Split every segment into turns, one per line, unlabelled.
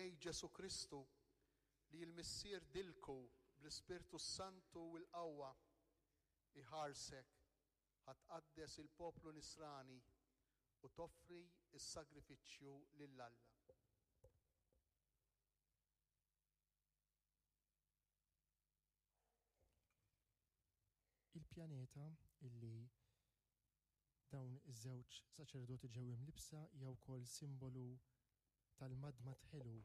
Il-Mulej Ġesù Kristu li l-Missier dilku bl-Ispirtu s-Santu u l-qawwa iħarsek ħa tqaddes il-poplu Nisrani u toffri s-sagrifiċċju lil Alla.
Il-pjaneta illi dawn iż-żewġ saċerdoti ġew imlibbsa hija wkoll simbolu tal-madmad ħelu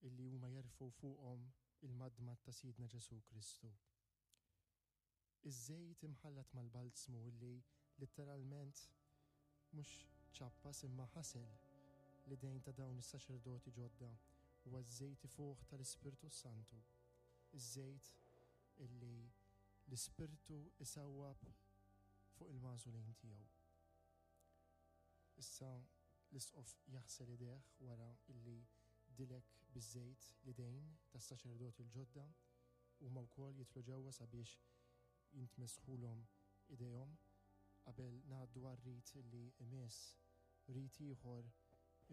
illi huma jerfgħu fuqhom il-madmad ta' Sidna Ġesù Kristu. Iż-żejt imħallat mal-balzmu li litteralment mhux ċappas imma ħasel l-idejn ta' dawn is-saċerdoti ġodda huwa ż-żejt ifuħ tal-Ispirtu s-Santu, iż-żejt illi l-Ispirtu isawwab fuq il-magħżulin tiegħu. Issa l-Isqof jaħsel idejh wara illi dilek biż-żejt l-idejn tas-saċerdoti l-ġodda. Huma wkoll jidħlu ġewwa sabiex jintmesħulhom idejhom qabel ngħaddu għar-rit li jmiss, rit ieħor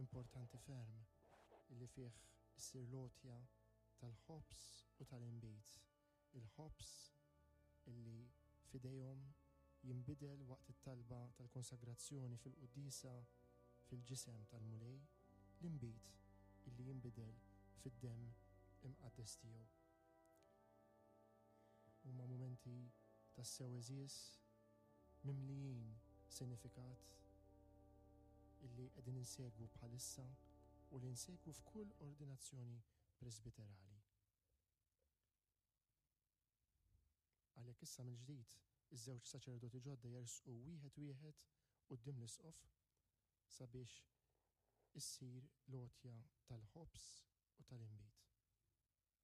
importanti ferm li fih issir l-għotja tal-ħobż u tal-inbid. Il-ħobż illi f'idejhom jinbidel waqt it-talba tal-konsagrazzjoni fil-quddiesa fil-ġisem tal-Mulej, l-inbid illi jinbidel fid-demm imqaddes tiegħu. Huma mumenti tassew għeżież, mimlijin sinifikat illi qegħdin insegwu bħalissa u li nsegwu f'kull ordinazzjoni presbiterali. Għalhekk issa mill-ġdid iż-żewġ saċerdoti ġodda jersqu wieħed wieħed quddiem l-isqof sabiex issir l-għotja tal-ħobż u tal-inbid.